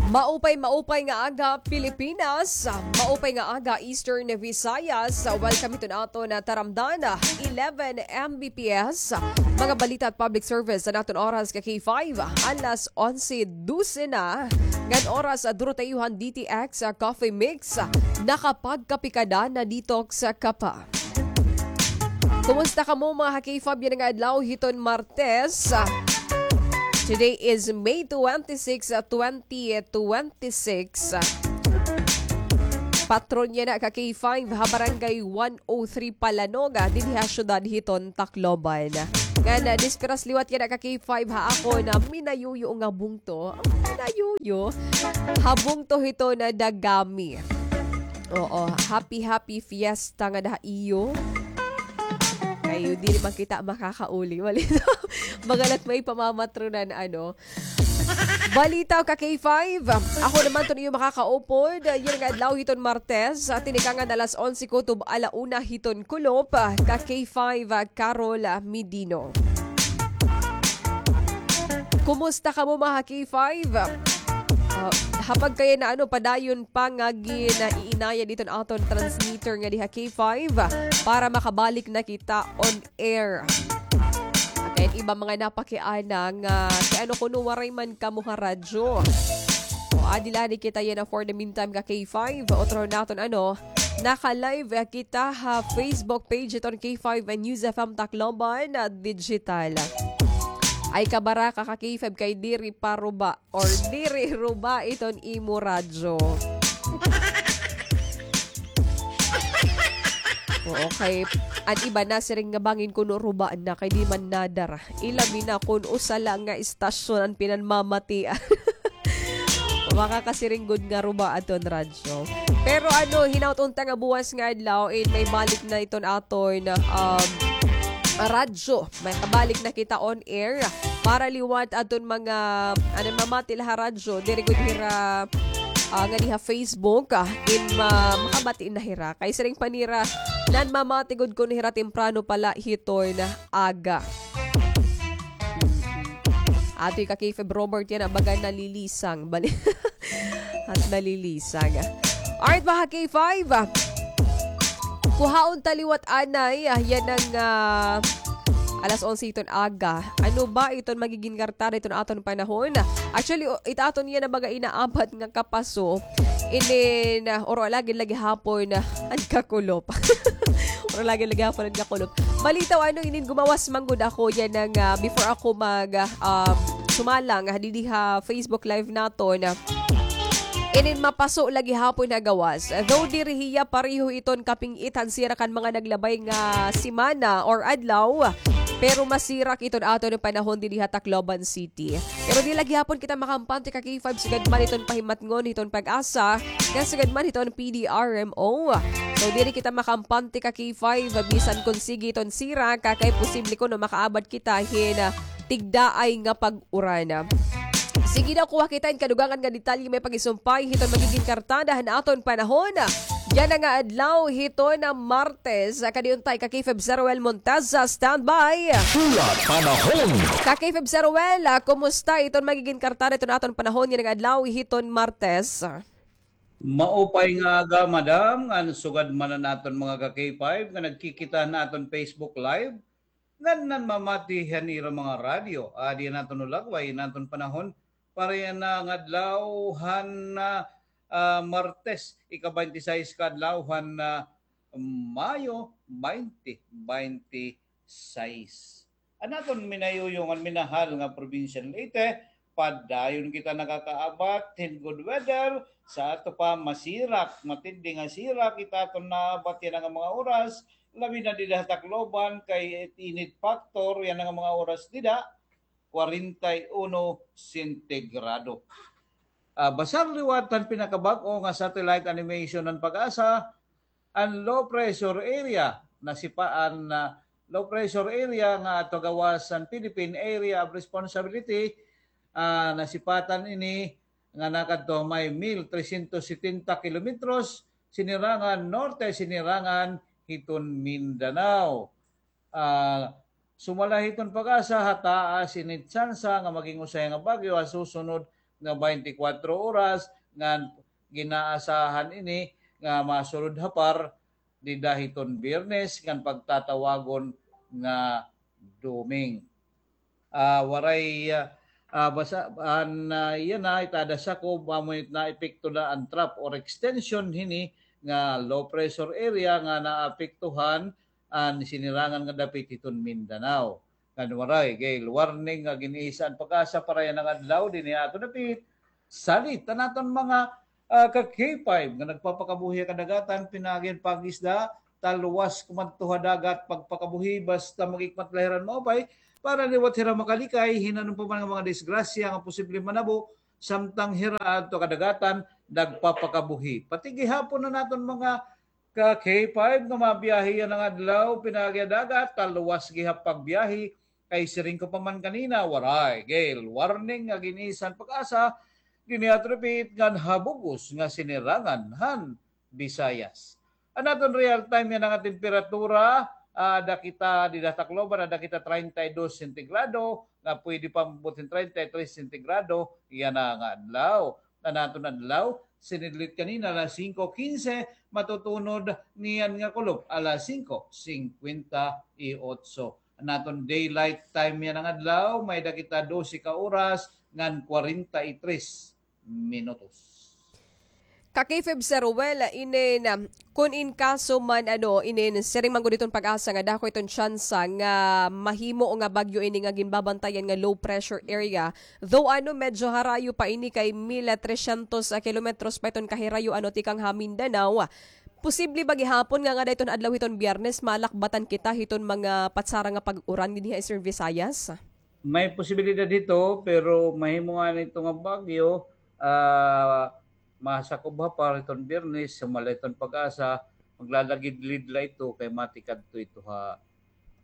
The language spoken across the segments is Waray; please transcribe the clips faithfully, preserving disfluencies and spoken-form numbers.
Maupay, maupay nga aga, Pilipinas. Maupay nga aga, Eastern Visayas. Welcome hiton aton taramdan, eleven M B P S. Mga balita at public service sa naton oras ka K five. Alas onse dose na. Ngan oras, ah, duro ta iyo han D T X, ah, Coffee Mix. Nakapagkape ka na, na-detox ka pa. Kumusta kamo, mga ka-K five, yana nga adlaw hiton Martes? Today is May twenty-six, ah, twenty twenty-six. Patron yana, ka-K five, ha Barangay one oh three Palanog, ah, dinhi ha syudad hiton Tacloban. Ngan, ah, despedidas liwat yana, ka-K five, ha akon minayuyo nga bungto. Minayuyo. Ha bungto hiton Dagami. Oo, happy, happy fiesta ngada ha iyo. Kay diri man kita makakauli. Wala ito. Magalat may pamamatronan, ano. Balita ka K five. Ako naman ton iyo makakaupod. Yana nga adlaw hiton Martes. Sa tinikangan alas onse kutob ala una hiton kulop. Ka K five, Carol Midino. Kumusta kamo, mga K five? Ah, hapag kaya na, ano, padayon pa nga gin-iinayad iton aton transmitter nga diha K five para makabalik na kita on air. Kay iba mga napakiana nga, kay ano kuno waray man kamo ha radyo. O, adi la ni kita yana for the meantime ka K five. Otro naton, ano, naka-live, eh, kita ha Facebook page iton K five News F M Tacloban, ah, Digital. Ay kabaraka ka K five kay diri pa ruba or diri ruba iton imo radyo. Oo, kay an iba nasiring nga bangin kuno ruba na kay di man nadara. Ilabi na kun usa la nga istasyon an pinanmamatian. Makakasiring gud nga ruba aton radyo. Pero ano, hinaut unta nga buwas nga adlaw, in may balik na iton aton, um, radyo. May kabalik na kita on air para liwat aton mga, ano, mamati la ha radyo, diri gud hira, ah, nga diha Facebook, ah, in ma-, makabati na hira. Kay siring pa nira, nanmamati gud kuno hira temprano pa la hiton aga. Atoy ka K five Robert yana, baga nalilisang. Bali. At nalilisang. Alright, mga K five. Kuhaon ta liwat anay, ah, yana nga, ah, alas onse iton aga. Ano ba iton magigin kartada iton aton panahon? Actually, o, it aton yana baga inaabat nga kapaso. Inin, ah, oro lagi lagi hapon, ah, an kakulop. Oro lagi lagi hapon an kakulop. Balitaw, ano, inin gumawas man gud ako yana nga, ah, before ako mag, ah, um, sumalang, ah, didi ha Facebook Live naton, ah, inin mapaso lagi hapon ha gawas. Though diri hiya pareho iton kaping-it han sirak han mga naglabay nga semana or adlaw, pero masirak iton aton panahon didi ha Tacloban City. Pero di lagi hapon kita makampante ka K five sugad man iton pahimatngon hiton PAGASA, ngan sugad man hiton P D R M O. So, diri kita makampante ka K five, bisan kon sige iton sirak, kay posible kuno makaabat kita hin, ah, tigdaay nga pag-uran. Sige daw, kuha kita hin kadugangan nga detalye may pag-isumpay hiton magigin kartada han aton panahon. Yana nga adlaw hiton Martes, kadi unta ka K five Zeruel Monteza, standby. Pula Panahon. Ka K five Zeruel, ah, kumusta iton magigin kartada iton aton panahon yana nga adlaw hiton Martes? Maupay nga aga, madam, ngan sugad man an aton mga ka K five nga nagkikita han aton Facebook Live, ngan nanmamati han ira mga radyo. Adi an aton hulagway, an aton panahon, para yana nga adlaw han, ah, ah, Martes, ika-twenty-six ka adlaw han, ah, Mayo twenty twenty-six. An aton minayuyo ngan minahal nga probinsya han Leyte, padayon kita nakakaabat hin good weather, sa ato pa masirak, matindi nga sirak it aton naabat yana nga mga oras, labi na dida ha Tacloban, kay it init factor yana nga mga oras dida, kwarenta y uno sentigrado. Ah, basar liwat han pinakabag-o nga satellite animation han PAGASA, an low pressure area, nasipa-, an, ah, low pressure area nga ato gawas han Philippine Area of Responsibility, ah, nasipatan ini nga nakadto may mil tresyentos setenta kilometros sinirangan norte, sinirangan hiton Mindanao. Ah, sumala hiton PAGASA, ha taas ini tsansa nga maging usahay nga bagyo ha susunod nga twenty-four oras, ngan ginaasahan ini nga masulod ha par dida hiton Biyernes ngan pagtatawagon nga Doming. Ah, waray, ah, ah, basa, an, ah, yana, itada sakob, amo it naepekto na an trough or extension hini nga low pressure area nga naapektuhan an sinirangan nga dapit hiton Mindanao. Ngan waray gale warning nga gin-isa an PAGASA para yana nga adlaw dinhi ha aton dapit. Salit an aton mga, ah, ka K five nga nagpapakabuhi ha kadagatan, pinaagi han pag-isda, talwas kumadto ha dagat, pagpakabuhi, basta mag-ikmat la hira hin maupay, para liwat hira makalikay hin ano pa man nga mga disgrasya nga posible manabo, samtang hira adto ha kadagatan, nagpapakabuhi. Pati gihapon an aton mga ka K five nga mabiyahe yana nga adlaw, pinaagi ha dagat, talwas gihap pagbiyahe, kay siring ko pa man kanina, waray gale warning nga gin-isa han PAGASA dinhi ha aton dapit ngan ha bug-os nga sinirangan han Visayas. An aton real time yana nga temperatura, ah, ada kita dida ha Tacloban, ada kita treinta y dos sentigrado, nga pwede pa maabot hin treinta y tres sentigrado yana nga adlaw. An aton adlaw, sinidlit kanina alas singko kinse, matutunod niyan nga kulop alas singko singkwenta y otso. An aton daylight time yana nga adlaw, may-ada kita dose ka oras ngan kwarenta y tres minutos. Ka K five Sir Ruel, inin, kun in kaso man, ano, inin, siring man gud iton PAGASA nga dako iton tsansa nga mahimo nga bagyo ini nga ginbabantayan nga low pressure area. Though, ano, medyo harayo pa ini kay mil trescientos kilometros pa iton kahirayo, ano, tikang ha Mindanao. Posible ba gihapon nga ngada iton adlaw hiton Biyernes, malakbatan kita hiton mga patsara nga pag-uran dinhi ha Eastern Visayas? May posibilidad hito, pero mahimo ngani ito nga bagyo, ah, masakob ha par hiton Biyernes, sumala hiton PAGASA, maglalagidlid la ito kay matikadto ito ha,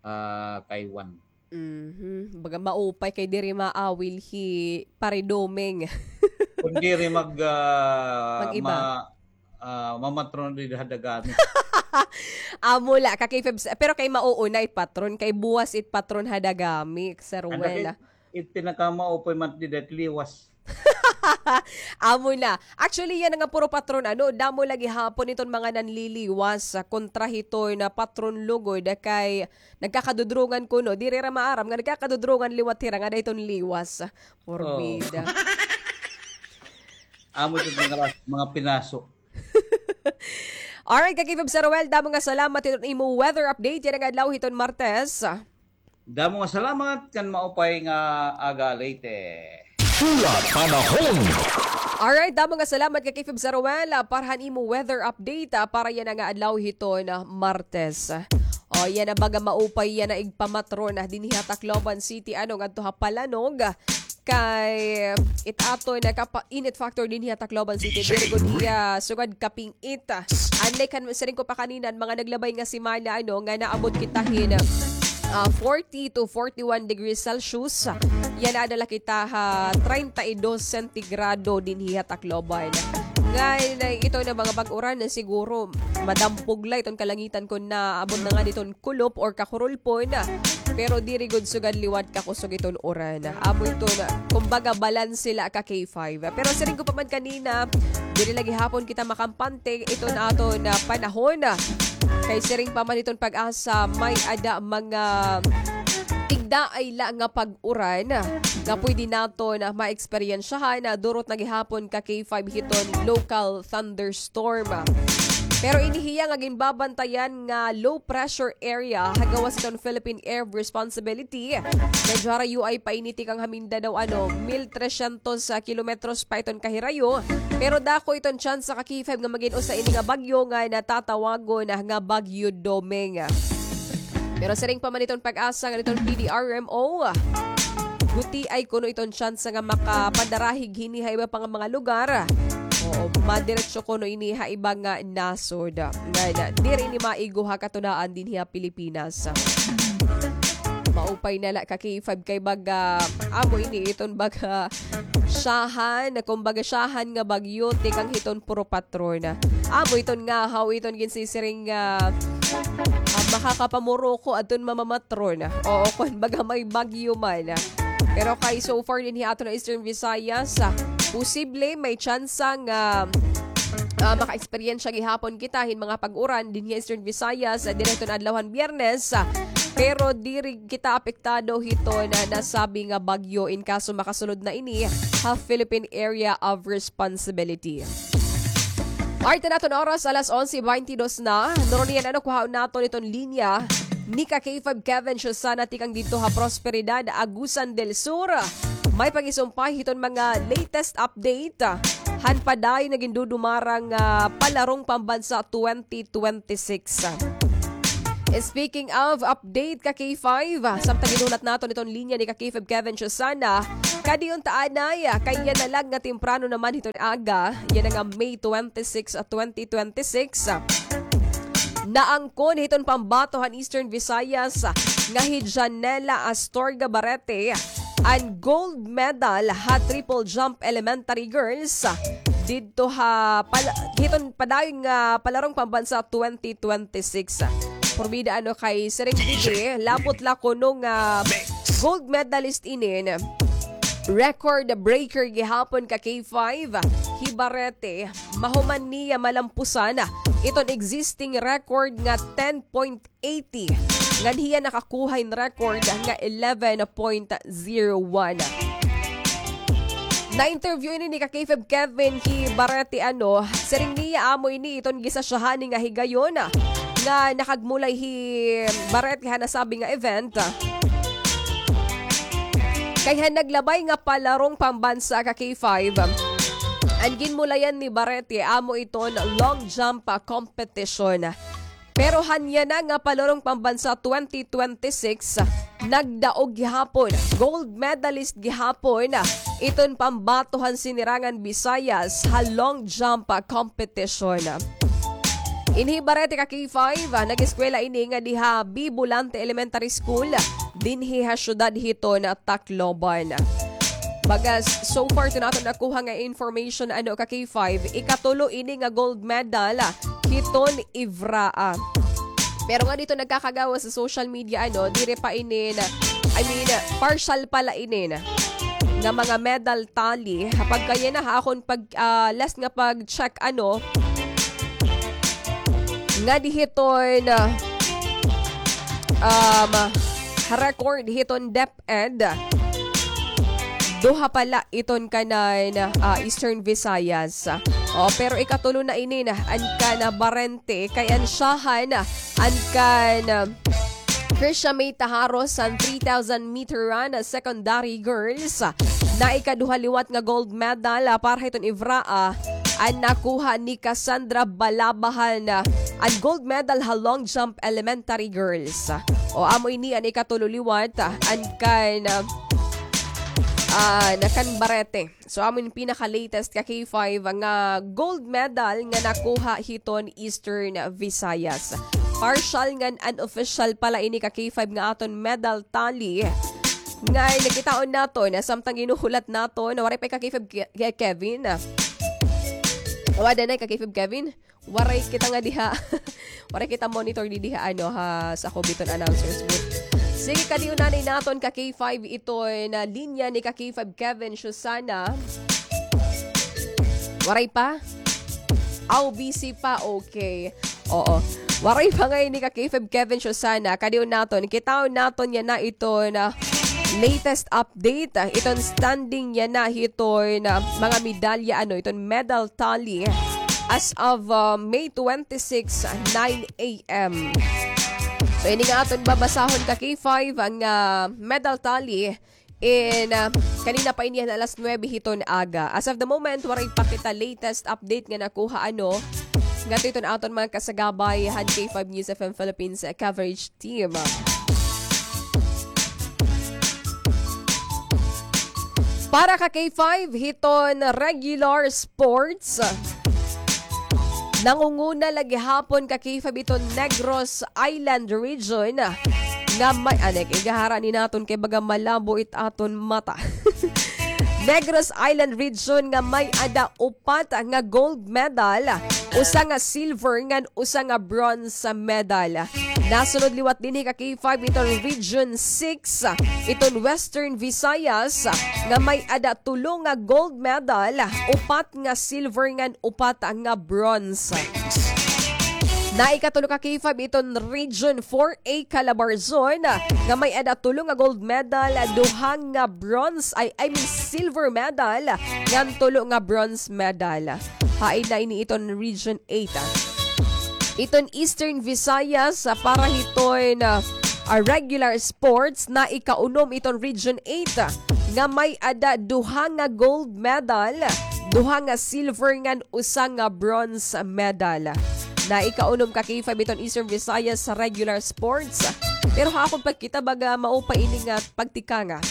ah, Taiwan. Mhm. Baga maupay kay diri maawil hi Pare Doming. Kun diri mag, ah, Mag-iba. ma-, ah, mamatron dida ha Dagami. Amo la, ka K five, pero kay mauuna it patron, kay buwas it patron ha Dagami, Sir Ruel. It, it pinakamaupoy man dida it liwas. Amo na. Actually, yana nga puro patron, ano, damo la gihapon iton mga nanliliwas, ah, kontra hiton patron lugod kay nagkakadudrungan kuno. Diri hira maaram nga nagkakadudrungan liwat hira ngada hiton liwas. Porbida. Amo iton mga, mga pinaso. Alright, ka K five Sir Ruel, damo nga salamat hiton imo weather update yana nga adlaw hiton Martes. Damo nga salamat, kan maupay nga aga, Leyte. Pula Panahon. Alright, damo nga salamat ka K five Sir Ruel, ah, para han imo weather update, ah, para yana nga adlaw hiton, ah, Martes. O, yana baga maupay yana igpamatron, ah, dinhi ha Tacloban City, ano, ngadto ha Palanog. Kay it aton nga kapa-, init factor dinhi ha Tacloban City, very good hiya, sugad kaping-it. Unlike han siring ko pa kanina, an mga naglabay nga semana, ano, nga naabot kita hin, ah, forty to forty-one degrees Celsius. Yana ada la kita ha treinta y dos sentigrado dinhi ha Tacloban. Ngan, ah, ito nga mga bag-uran, siguro madampog la iton kalangitan kon naabot na ngani iton kulop or kakurulpon. Pero diri gud sugad liwat kakusog iton uran. Amo iton, kumbaga, balanse la ka K five. Pero siring ko pa man kanina, diri la gihapon kita makampante iton aton panahon. Kay siring pa man iton PAGASA, may-ada mga tigdaay la nga pag-uran nga pwede naton maeksperiensyahan, durot na gihapon ka K five hiton local thunderstorm. Pero ini hiya nga ginbabantayan nga low pressure area ha gawas hiton Philippine Air Responsibility, medyo harayo pa ini tikang ha Mindanao, ano, mil trescientos kilometros pa iton kahirayo. Pero dako iton tsansa ka K five nga magin usa ini nga bagyo nga natatawagon nga Bagyo Doming. Pero siring pa man iton PAGASA ngan iton P D R M O, gutiay kuno iton tsansa nga makapadarahig hini ha iba pa nga mga lugar. Oo, madiretso kuno ini ha iba nga nasod. Ngan diri ini maigo ha katunaan dinhi ha Pilipinas. Maupay na la ka K five kay baga, amo ini iton baga syahan, kumbaga syahan nga bagyo, tikang hiton puro patron. Amo iton ngahaw iton ginsisiring nga, ah, makakapamuroko adton mamamatron. Oo, kon baga may bagyo man. Pero kay so far dinhi ha aton Eastern Visayas, ah, posible may tsansa nga, ah, maka-eksperyensya gihapon kita hin mga pag-uran dinhi ha Eastern Visayas, ah, diri hiton adlaw han Biyernes, ah, pero diri kita apektado hiton nasabi nga bagyo in kaso makasulod na ini ha Philippine Area of Responsibility. Arte naton oras, alas onse baynte dos na. Nurunian, ano, kuhaon naton iton linya ni ka K five Kevin Susana tikang didto ha Prosperidad, Agusan del Sur. May pagisumpay hiton mga latest update han padayon nga gindudumarang, ah, palarong pambansa twenty twenty-six. Speaking of update ka K five, ah, samtang ginulat naton iton linya ni ka K five Kevin Susana, kadi unta anay, ah, kay yana la nga temprano naman hiton aga, yana nga May twenty-six, ah, twenty twenty-six, ah, naangkon hiton pambato han Eastern Visayas, ah, nga hi Janela Astorga Barete, an gold medal ha triple jump elementary girls, ah, didto ha pala-, hiton padayon nga palarong pambansa twenty twenty-six. Porbida, ano, kay siring didi, labot la kuno nga gold medalist inin, record breaker gihapon ka K five, hi Barete, mahuman niya malampusan iton existing record nga ten point eighty, ngan hiya nakakuha hin record nga eleven point zero one. Na-interview ini ni ka K five Kevin hi Barete, ano, siring niya amo ini iton gisasyahan ni nga higayon nga nakagmulay hi Barete ha nasabi nga event. Kay ha naglabay nga palarong pambansa ka K five, an ginmulayan ni Barete amo iton long jump, ah, competition. Pero han yana nga palarong pambansa twenty twenty-six, nagdaog gihapon, gold medalist gihapon iton pambato han Sinirangan Visayas ha long jump competition. Ini hi Barete ka K five, ah, nag-eskwela ini ngadi ha B. Volante Elementary School, dinhi ha syudad hiton Tacloban. Bagas, so far, iton aton nakuha nga information, ano, ka K five, ikatulo ini nga gold medal hiton Ivraa. Pero ngadi iton nagkakagawas ha social media, ano, diri pa inin, I mean, partial pa la inin nga mga medal tally. Pagkayana ha akon pag, ah, last nga pag-check, ano, ngadi hiton, um, record hiton DepEd, duha pa la iton kanan, ah, Eastern Visayas. O, pero ikatulo na inin an kan Barete, kay an syahan, an kan Krisha May Taharos han three thousand meter run, ah, secondary girls. Na ikaduha liwat nga gold medal, ah, para hiton Ivraa, an nakuha ni Cassandra Balabahan, ah, an gold medal ha long jump elementary girls. O, amo ini an ikatulo liwat, ah, an kan, ah, ah, na kan Barete. So, amo ini pinaka-latest ka K five nga gold medal nga nakuha hiton Eastern Visayas. Partial ngan unofficial pa la ini ka K five nga aton medal tally. Nga nakitaon naton, samtang ginuhulat naton, waray pa ka K five Ke-, Kevin. Wada na ka K five Kevin. Waray kita nga diha. Waray kita monitor di diha, ano, ha, sa Cobiton announcers booth. Sige, kadi unanay naton ka K five iton linya ni ka K five Kevin Susana. Waray pa? Aw, busy pa. Okay. Oo. Waray pa ngay-an ni ka K five Kevin Susana. Kadi un naton, kitaon naton yana iton latest update, ah, iton standing yana hiton mga medalya, ano, iton medal tally as of, ah, May twenty-six, nine a m. So, ini nga aton babasahon ka K five, nga medal tally in, ah, kanina pa ini han alas nuwebe hiton aga. As of the moment, waray pa kita latest update nga nakuha, ano, ngadto hiton aton mga kasagabay han K five News F M Philippines coverage team. Para ka K five, hiton regular sports, nangunguna la gihapon ka K five iton Negros Island Region nga may, anek, igahara ni naton kay baga malabo it aton mata. Negros Island Region nga may-ada upat nga gold medal, usa nga silver ngan usa nga bronze medal. Nasunod liwat dinhi ka K five iton Region six, iton Western Visayas, nga may-ada tulo nga gold medal, upat nga silver ngan upat nga bronze. Naikatulo ka K five iton Region four A Calabarzon, nga may-ada tulo nga gold medal, duha nga bronze, ay, I mean, silver medal, ngan tulo nga bronze medal. Hain na ini iton Region eight, ah. Iton Eastern Visayas, ah, para hiton, ah, ah, regular sports, naikaunom iton Region eight, ah, nga may-ada duha nga gold medal, duha nga silver ngan usa nga bronze medal. Naikaunom ka K five iton Eastern Visayas sa regular sports. Pero ha akon pagkita, baga mao pa ini nga pagtikanga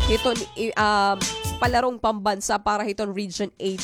hiton i-, ah, palarong pambansa para hiton Region eight.